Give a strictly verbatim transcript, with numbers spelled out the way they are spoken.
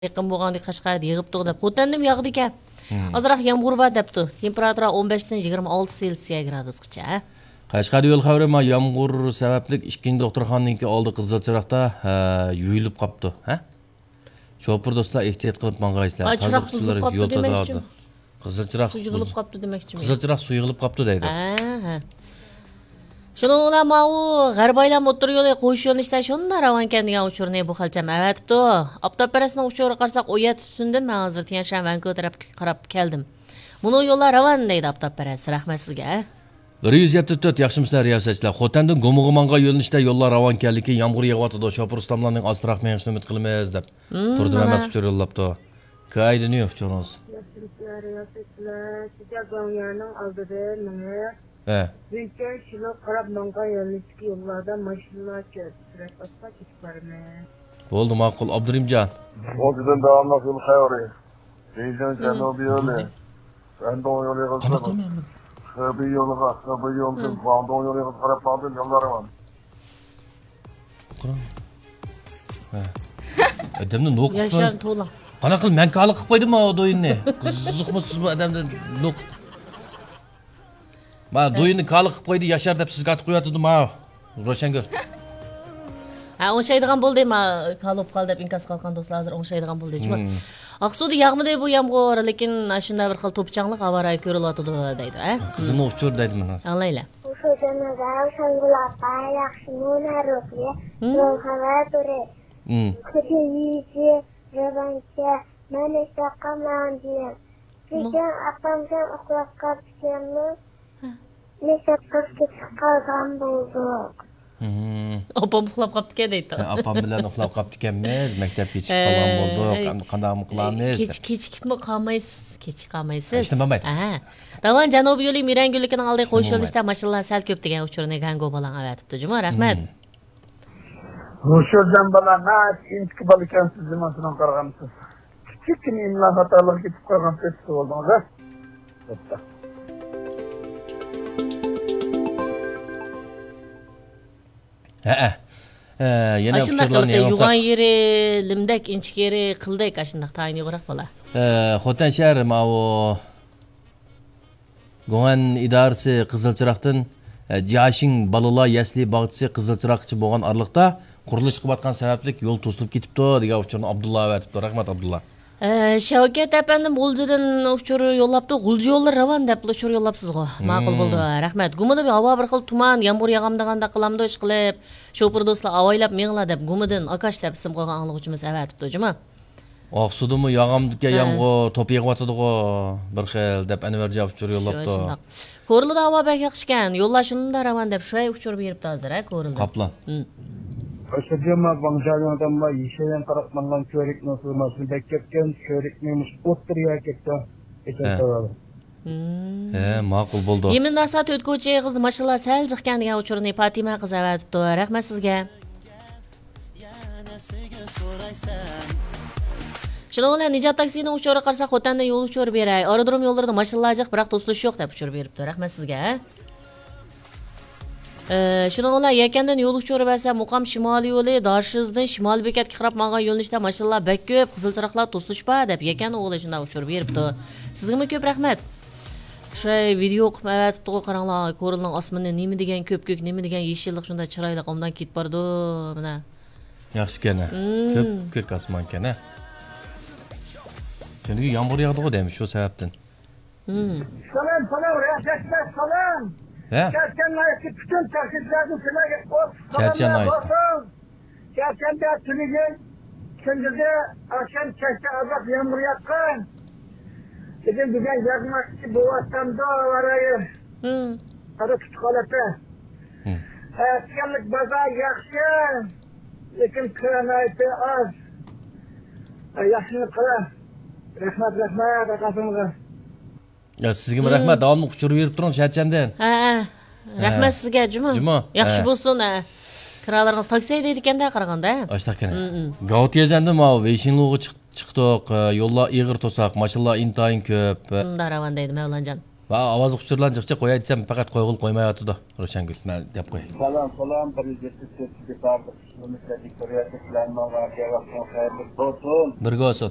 يېقىن بولغاندىكىن قەشقەردە يېغىپتۇ دەپ. خوتەندىمۇ ياغدىكەن. مم. ئازراق يامغۇر بار دەپتۇ. تېمپېراتۇرا ئون بەشتىن يىگىرمە ئالتە سېلسىيە گرادۇسقىچە. قەشقەردە يول خەۋىرى، ما يامغۇر سەۋەبلىك ئىككىنچى دوختۇرخانىنىڭكى ئالدى قىزىل چىراغدا، ھە، يۇيۇلۇپ قاپتۇ، ھە؟ شوپۇر دوستلار، ئېھتىيات قىلىپ ماڭغايسىلەر. ھا، چىراغ تازىلىقچىلار بۇزۇلۇپ قاپتۇ يول دېمەكچىمۇ؟ تازىلاۋاتىدۇ. قىزىل چىراغ سۇ يىغىلىپ بۇز-، قاپتۇ دېمەكچىمۇ؟ قىزىل چىراغ سۇ يىغىلىپ قاپتۇ دەيدۇ. ھە، ھە. شۇنىڭ بىلەن ماۋۇ غەربىي ئايلام ئوتتۇرا يولى قويۇش يۆنىلىشىدە شۇنداق راۋانكەن دېگەن ئۇچۇرنى بۇ خەلچەم ئەۋەتىپتۇ. ئاپتاپپەرەسنىڭ ئۇچۇرىغا قارىساق، ئون يەتتە تۈتۈندىن مەن ھازىر تيەنشەن ۋەنكۇ تەرەپكە قاراپ كەلدىم. مۇنۇ يوللار راۋان دەيدۇ ئاپتاپپەرەس. رەھمەت سىزگە. بىر يۈز يەتتە تۆت، ياخشىمۇسىلەر رىياسەتچىلەر؟ خوتەندىن گۇمىغا ماڭغان يۆنىلىشتە يوللار راۋانكەنلىكى، يامغۇر يېغىۋاتىدۇ، شوپۇر ئۇستاملارنىڭ ئاستىراق مېڭىشىنى ئۈمىد قىلىمىز، دەپ. مم، تۇردى مانا. مەمەت ئۇچۇر يوللاپتۇ. كايدىنى ئۇچۇرىڭىز. ياخشىمۇسىلەر رىياسەتچىلەر؟ شىجيا گۇاڭيانىڭ ئالدىدا مېڭىپ، ھە. ۋېيچەن شىلوغا قاراپ ماڭغان يۆنىلىشتىكى يوللاردا ماشىنىلار كۆپ، سۈرئەت ئاستا كېتىپ بارىمىز. بولدى، ماقۇل، ئابدۇرېھىمجان. ئوتتۇزدىن داۋاملىق يول خەۋىرى. بېيجىڭ جەنۇبىي يولى، شەندۇڭ يولىغا، قانداق قىلىمەن مەن؟ خېبېي يولىغا، خېبېي يولىدىن گۇاڭدۇڭ يولىغا قاراپ ماڭدىم، يوللار راۋان. قاراڭ. ھە. ئادەمنى نوق قىلىپ ياشارنى توۋلاڭ. قانداق قىلىپ مەن كالا قىلىپ قويدۇم ماۋۇ دويىننى. قىزىقمۇ سىز بۇ ئادەمدىن نوق. ما، ھە. دويىنى كالا قىلىپ قويدى، ياشار دەپ سىزگە ئاتىپ قويۇۋاتىدۇ، ما، روشەنگۈل. ھە، ئوڭشايدىغان بولدى، ما، كالا بولۇپ قالدى دەپ ئىنكاس قىلغان دوستلار ھازىر ئوڭشايدىغان بولدى، جۇمۇ. مم. ئاقسۇدا ياغمىدى بۇ يامغۇر، لېكىن ئاشۇنداق بىر خىل توپا-چاڭلىق ھاۋا رايى كۆرۈلۈۋاتىدۇ، دەيدۇ، ھە؟ قىزىمنىڭ ئۇچۇرى دەيدۇ مانا. ئاڭلايلى. ئۇچۇر جانابىم، شامگۈل ئاپا، ياخشىمۇ، نەرۇقىيە، مم. يول خەۋەر تورى. مم. كېچە يېيىشى، رېۋانشە، مەن ئىشتاققان ماڭدىم. مۇ- بۈگۈن ئاپامجان ئۇخلاپ قاپتىكەنمۇ؟ ھە. مەكتەپكە كېچىكىپ قالغان بولدۇق. ھىم. ئاپام ئۇخلاپ قاپتىكەن دەيدۇ. ھە، ئاپام بىلەن ئۇخلاپ قاپتىكەنمىز، مەكتەپكە كېچىكىپ قالغان ھە، بولدۇق. ھە. ئەمدى قانداقمۇ قىلامىز كېچ-، دەپ. كېچىكىپمۇ قالمايسىز، كېچىكىپ قالمايسىز. ھېچنېمە بولمايدۇ. ھە. داۋان جەنۇبىي يولى مىرەن گۈللۈكىنىڭ ئالدى قويۇش يۆنىلىشىدە ماشىنىلار سەل كۆپ دېگەن ئۇچۇرنى گەنگو بالاڭ ئەۋەتىپتۇ جۇمۇ. رەھمەت. ھىم. روشەنجان بالا، ناھايىتى ئىنچىكە بالا ئىكەنسىز، جۇمۇ، شۇنىڭغا قارىغاندا سىز كىچىككىنە ئىملا خاتالىقى كېتىپ قالغان سېتىپ بولدىڭىز، ھە؟ بوپتۇ. ھەئە. ھە، يەنە ئاشۇنداق ئۇچۇرلارنى يېڭىلساق. يوغان يېرى، لىمدەك، ئىنچىكە يېرى، قىلدەك، ئاشۇنداق تايىنى يوغراق بالا. ھە، خوتەن شەھىرى ماۋۇ گۇڭئەن ئىدارىسى قىزىل چىراغدىن، ئە، جياشىڭ بالىلار يەسلى باغچىسى قىزىل چىراغقىچە بولغان ئارىلىقتا قۇرۇلۇش قىلىۋاتقان سەۋەبلىك يول توسۇلۇپ كېتىپتۇ، دېگەن ئۇچۇرنى ئابدۇللا ئەۋەتىپتۇ. رەھمەت، ئابدۇللا. ئە، شەۋكەت ئەپەندىم غۇلجىدىن ئۇچۇر يوللاپتۇ. غۇلجا يوللىرى راۋان دەپلا ئۇچۇر يوللاپسىزغۇ. ماقۇل بولدى. رەھمەت. گۇمىدا ھاۋا بىر خىل تۇمان، يامغۇر ياغامدىغاندەك قىلامدۇ، ئىشقىلىپ، شوپۇر دوستلار ئاۋايلاپ مېڭىلا دەپ گۇمىدىن ئاكاش دەپ ئىسىم قويغان ئاڭلىغۇچىمىز ئەۋەتىپتۇ جۇمۇ. ئاقسۇدىمۇ ياغامدىكەن يامغۇر، توپا يېغىۋاتىدىغۇ بىر خىل دەپ ئەنۋەرجان ئۇچۇر يوللاپتۇ. شۇنداق. كورلىدا ھاۋا بەك ياخشىكەن، يوللار شۇنداق راۋان دەپ شۇ ئۇچۇر بېرىپتۇ ھازىر، ھە، كورلىدا. قاپلان. ھىم. ئاشۇ جۇما ۋاڭجانىڭدىن يېشىل رەڭ تاراقلانغان كۆۋرۈكنىڭ سۇ ماشىنا بەك كەپكەن، كۆۋرۈكنى مۇشۇ ئوتتۇرىيە كەتتى. ھە. ھىم. ھە، ماقۇل بولدى. يېمىن ناسا تۆت كوچا ئېغىزدا ماشىنىلار سەل جىقكەن دېگەن ئۇچۇرنى پاتىمە قىز ئەۋەتىپتۇ. رەھمەت سىزگە. شۇنىڭ بىلەن نىجات تاكسىنىڭ ئۇچۇرىغا قارىساق، خوتەندىن يول ئۇچۇرى بېرەي. ئايرودروم يوللىرىدا ماشىنىلار جىق، بىراق توسۇلۇش يوق دەپ ئۇچۇر بېرىپتۇ. رەھمەت سىزگە. ئە، شۇنىڭ بىلەن يەكەندىن يول ئۇچۇرى بەرسە، مۇقام شىمالىي يولى دارشىزدىن شىمالىي بېكەتكە قاراپ ماڭغان يۆنىلىشتە ماشىنىلار بەك كۆپ، قىزىل چىراغلار توسۇلۇش بار دەپ يەكەن ئوغلى شۇنداق ئۇچۇر بېرىپتۇ. سىزگىمۇ كۆپ رەھمەت. شۇ ۋىدېئو قىلىپ ئەۋەتىپتىغۇ، قاراڭلار، كورلىنىڭ ئاسمىنى نېمە دېگەن كۆپكۆك، نېمە دېگەن يېشىللىق، شۇنداق چىرايلىق، ئوبدان كېتىپ بارىدۇ، مانا. ياخشىكەن، ھە. مم. كۆپكۆك ئاسمانكەن، ھە. چۈنكى يامغۇر ياغدىغۇ دەيمىز، شۇ سەۋەبتىن. مم. سالام، سالام، رىياسەتچىلەر، سالام. ھە؟ چەرچەن ناھىيەسى پۈتۈن تەكلىپلەردىن سىلەرگە قوش چەرچەن سالاملار ناھىيەسىدە بولسۇن. چەرچەندە تۈنۈگۈن كۈندۈزى، ئاخشام، كەچتە ئازراق يامغۇر ياغقان. لېكىن بۈگۈن ياغماقچى بولۇۋاتامدۇ، ھاۋا رايى. مم. ھازىر تۇتۇق ھالەتتە. مم. ئەتىگەنلىك بازار ياخشى، لېكىن كىرا ناھايىتى ئاز. ياخشىنى قىلىڭ. رەھمەت، رەھمەت ھەرقايسىڭىزغا. يا، سىزگىمۇ رەھمەت، داۋاملىق ئۇچۇر بېرىپ تۇرۇڭ چەرچەندىن. ھە، ھە. رەھمەت سىزگە، جۇمۇ. جۇمۇ. ياخشى بولسۇن، ھە. كىرالىرىڭىز تاكسى ھەيدەيدىكەن-دە، قارىغاندا. ئاشتاق كەنە. مم، مم. گاۋتيەنزەندىن ماۋۇ ۋېيشىنلۇغا چىق-، چىقتۇق. ئە، يوللار ئېغىر توساق، ماشىنىلار ئىنتايىن كۆپ. ئە، مۇنداق راۋان دەيدۇ، مەۋلانجان. ۋا، ئاۋازلىق ئۇچۇرلارنى جىق جىق قوياي دېسەم، پەقەت قويغىلى قويمايۋاتىدۇ روشەنگۈل. مەن دەپ قوياي. سالام، سالام، بىر يۈز يەتمىش تۆتىنچى بارلىق ئىشلىرىمىزگە دىكتورىيەتلىك بىلەن ماڭا ۋەقتىڭىز خەيرلىك بولسۇن. بىرگە بولسۇن.